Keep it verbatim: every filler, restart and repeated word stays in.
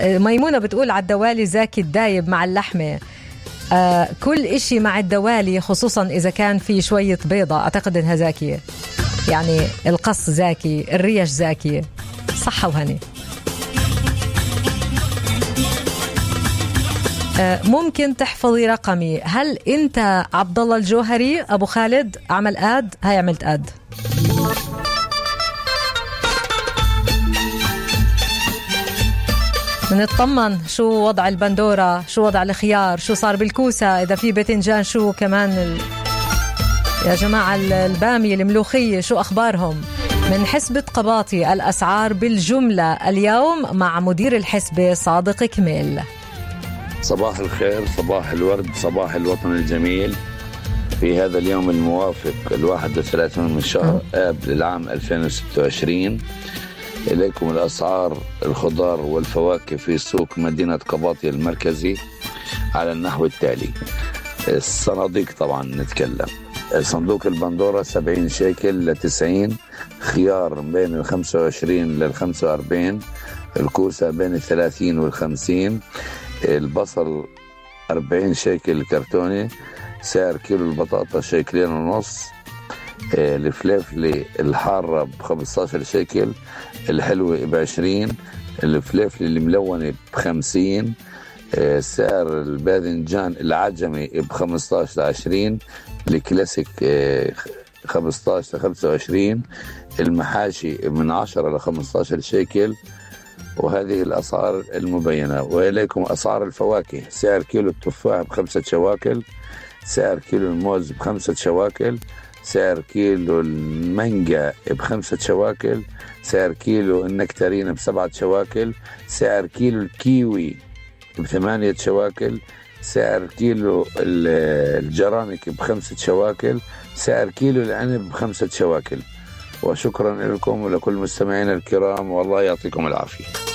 ميمونة بتقول على الدوالي زاكي الدايب مع اللحمة. آه كل إشي مع الدوالي خصوصا إذا كان في شوية بيضة أعتقد إنها زاكية، يعني القص زاكي، الريش زاكية. صحة وهني. آه ممكن تحفظي رقمي؟ هل أنت عبد الله الجوهري أبو خالد؟ عمل آد، هاي عملت آد. نطمن شو وضع البندورة، شو وضع الخيار، شو صار بالكوسة، إذا في باذنجان، شو كمان ال... يا جماعة البامية الملوخية شو أخبارهم؟ من حسبة قباطي الأسعار بالجملة اليوم مع مدير الحسبة صادق كميل. صباح الخير، صباح الورد، صباح الوطن الجميل في هذا اليوم الموافق الواحد وثلاثين من شهر آب للعام ألفين وستة وعشرين. إليكم الأسعار الخضار والفواكه في سوق مدينة قباطي المركزي على النحو التالي. الصناديق طبعا نتكلم. صندوق البندورة سبعين شيكل لتسعين، خيار بين الخمسة وعشرين للخمسة وأربعين، الكوسة بين الثلاثين والخمسين، البصل أربعين شيكل كرتوني، سعر كيلو البطاطا شيكلين ونص، الفليفلي الحارة بخمستاشر شيكل، الحلوة بعشرين، الفليفلي الملونة بخمسين، سعر الباذنجان العجمي بخمستاشر لعشرين، الكلاسيك خمستاشر لخمسة وعشرين، المحاشي من عشرة لخمستاشر شيكل. وهذه الأسعار المبينة. وإليكم أسعار الفواكه. سعر كيلو التفاح بخمسة شواكل، سعر كيلو الموز بخمسة شواكل، سعر كيلو المانجا بخمسة شواكل، سعر كيلو النكتارين بسبعة شواكل، سعر كيلو الكيوي بثمانية شواكل، سعر كيلو الجرانك بخمسة شواكل، سعر كيلو العنب بخمسة شواكل. وشكرا لكم ولكل مستمعين الكرام، والله يعطيكم العافية.